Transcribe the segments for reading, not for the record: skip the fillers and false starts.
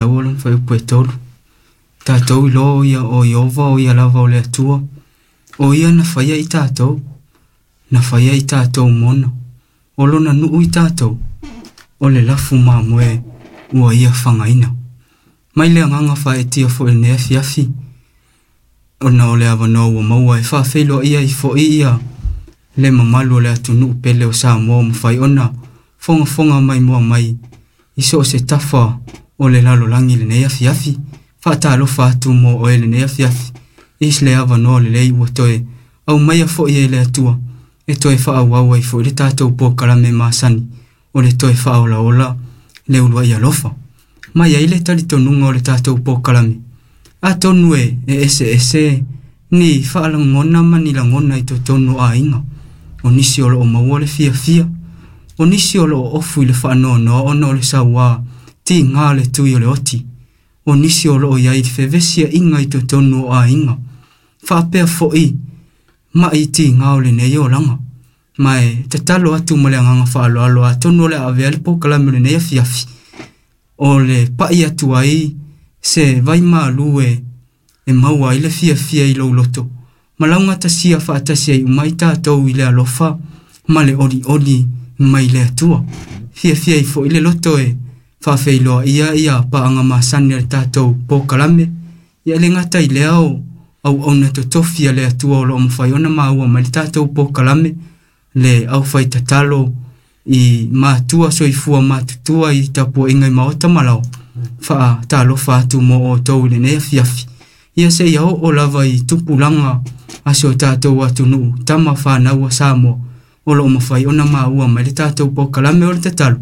Taua lona fuaiupu e 3. Tatou iloa o ia o Ieova o ia lava o le Atua, o ia na faia i tatou, na faia i tatou mona, o lona nuu i tatou, o le lafu mamoe ua ia fagaina. Mai le agaga faaetia foi i lenei afiafi, ona o le avanoa ua maua e faafeiloai ai foi ia le mamalu o le atunuu pele o Samoa ua mafai ona fogafoga maimoa mai i so o se tafa o le lalolagi i lenei afiafi. Faatalofa atu mo oe i lenei afiafi i le avanoa lelei ua toe aumaia foi e le Atua e toe faaauau ai foi le tatou polokalame masani o le toe faaolaola le uluai alofa. Ma e i ai le talitonuga o le tatou polokalame, atonu e eseese ni faalagona ma ni lagona i totonu o aiga. O nisi o loo maua le fiafia, o nisi o loo ofu i le faanoanoa ona o le sauā tiga o le tui o le oti, o nisi o loo i ai fevesiaiga i totonu o aiga, faapea foi mai tiga o lenei olaga. Ma e tatalo atu ma le agaga faaaloalo, atonu o le a avea le polokalame o lenei afiafi o le pai atu ai se vaimalu e maua ai le fiafia i lou loto, ma laugatasia faatasi ai uma i tatou i le alofa ma le olioli mai le Atua. Fiafia ai foi le loto e faafeiloaia ia paaga masani a le tatou polokalame, ia e le gata i lea o auauna totofi a le Atua o loo mafai ona maua mai le tatou polokalame, le aufaitatalo i matua soifua matutua i tapuaiga i maota ma laoa. Faatalofa atu mo outou i lenei afiafi, ia seia oo lava i tupulaga a si o tatou atunuu, tama fanau a Samoa o loo mafai ona maua mai le tatou polokalame. O le tatalo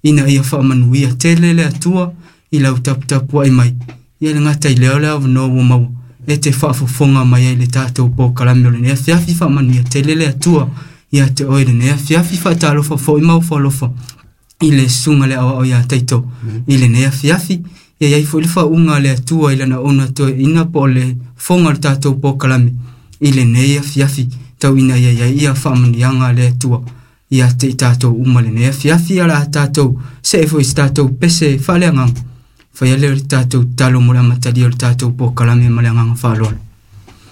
ina ia faamanuia tele le Atua i lau taputapuai mai, ia le gata i lea o le avanoa ua maua e te faafofoga mai ai le tatou polokalame o lenei afiafi. Faamanuia tele le Atua ia te oe i lenei afiafi. Faatalofa foi ma ofo alofa i le susuga i le aoao ia Taito i lenei afiafi. Ia i ai foi le faauuga a le Atua i lana ona toeaina po o le fofoga o le tatou polokalame i lenei afiafi, tau ina ia i ai ia faamanuiaga a le Atua ia te i tatou uma i lenei afiafi. O le a tatou see foi i se tatou pese faaleagaga, faia lea o le tatou tatalo mo le amatalia o le tatou polokalame ma le agaga faaaloalo.